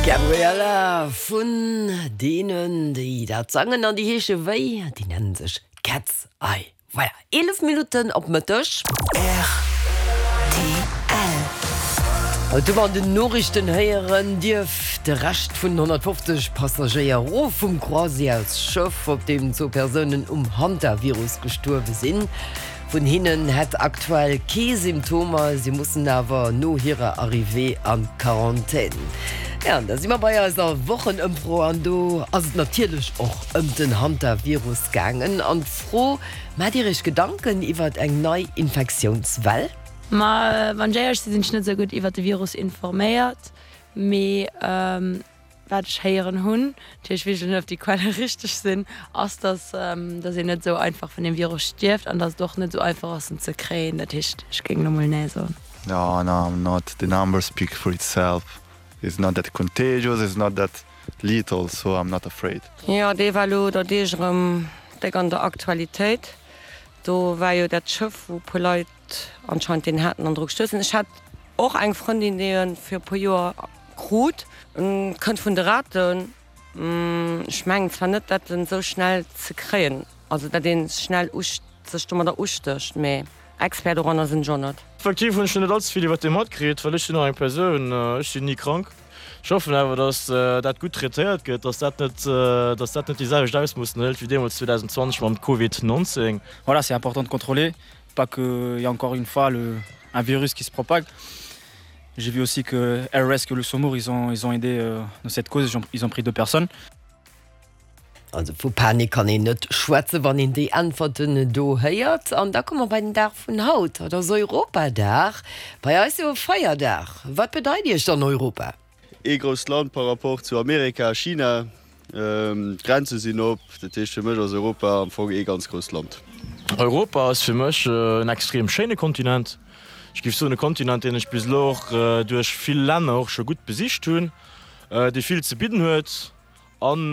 Gabriella vun deenen, déi dat sangen an déi heesche wéi? Déi nennen sech Cat's Eye. Voilà, 11 Minutten op Mëtteg. Rtl. Haut hu mer an den Noriichten héieren, dierf de Rescht vun 150 Passagéier erof vum Croisièresschëff, op deem zwou Persounen um Hantavirus gestuerwe sinn. Vun hinnen hätt aktuell kee Symptomer, si mussen awer no hirer Arrivée a Quarantän. Jo, an da si mer bei eiser Wochenëmfro an do ass et natierlech och ëm den Hantavirus gaangen. An d'Fro, Maacht Dir Iech Gedanken iwwert eng nei Infektiounswell? Ma wann ech éierlech sinn, sinn ech net esou gutt iwwert de Virus informéiert, mee Wat ech héieren hunn, natierlech weess ech net, ob déi Quelle richteg sinn, ass, dass dass een net esou einfach vun deem Virus stierft an dass et och net esou einfach ass en ze kréien. Dat heescht, ech géing elo mol nee soen. No, no, I'm not. The numbers speak for itself. It's not that contagious, it's not that lethal, so I'm not afraid. Jo, dee war elo der Deeg erëm déck an der Aktualitéit. Do war jo dat Schëff, wou e puer Leit anscheinend deen haten an dru gestuerf sinn. Ech hat och eng Frëndin, déi e fir e puer Joer Krut. Kënnt vun de Raten. Ech mengen zwar net dat en esou schnell ze kréien, also dat een schnell sech domadder ustécht, mee Expert doranner sinn ech och net. Effektiv hunn ech net allze vill iwwert dee matkritt, well ech sinn och eng Persoun, ech sinn ni krank. Ech hoffen awer, datt dat gutt traitéiert gëtt, datt dat net, datt dat net déi selwecht Ausmoossen hëlt wéi deemools 2020 mam Covid 19. Voilà, c'est important de contrôler, pas que y a encore une fois le un virus qui se propague. J'ai vu aussi que Air Rescue Luxembourg ils ont, ils ont aidé euh, dans cette cause, ils ont, ils ont pris deux personnes. Also vu Panik kann een net schwätzen, wann een déi Äntwerten do héiert. An da komme mer bei den Dag vun haut. Haut ass Europadag, bei eis jo e Feierdag. Wat bedeit Iech dann Europa? Ee grousst Land par rapport zu Amerika a China. D'Grenze sinn op. Dat heescht, fir mech ass Europa am Fong ee ganz grousst Land. Europa ass fir mech en extrem schéine Kontinent. Ech géif soen e Kontinent, deen ech bis elo och duerch vill Länner och scho gutt besicht hunn, dee vill ze bidden huet. An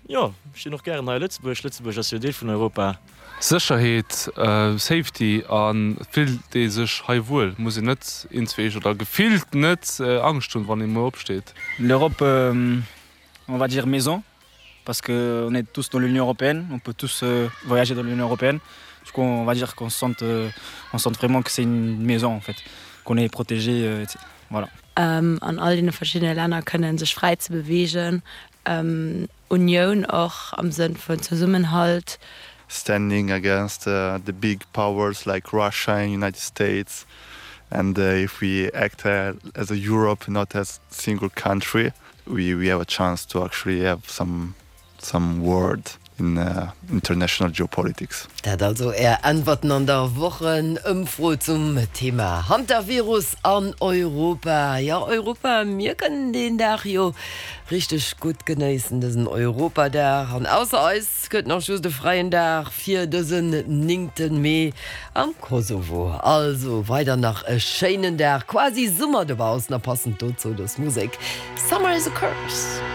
jo, ech sinn och gären hei a Lëtzebuerg. Lëtzebuerg ass jo Deel vun Europa. Sécherheet, Safety a fillt ee sech hei wuel? Muss een net inzweesch oder gefillt net Angscht hunn, wann ee muer opsteet? L'Europe, on va dire maison, parce que on est tous dans l'Union européenne, on peut tous voyager dans l'Union européenne, du coup on va dire qu'on se sente, on sente vraiment que c'est une maison en fait, qu'on est protégé, voilà. An all deene verschiddene Länner kënnen sech fräi ze beweegen, Unioun och am Sënn vun Zesummenhalt. Standing against the big powers like Russia and United States and if we act as a Europe not as single country we we have a chance to actually have some some word in international geopolitics. Dat also Är Äntwerten an der Wochenëmfro zum Thema Hantavirus an Europa. Jo, Europa, mir kënnen deen Dag jo richteg gutt genéissen, dësen Europadag. An ausser eis gëtt nach just e fräien Dag fir dësen néngte Mee am Kosovo. Also weider nach e schéinen Dag, quasi Summer dobaussen a passend dozou dës Musek, Summer is a Curse.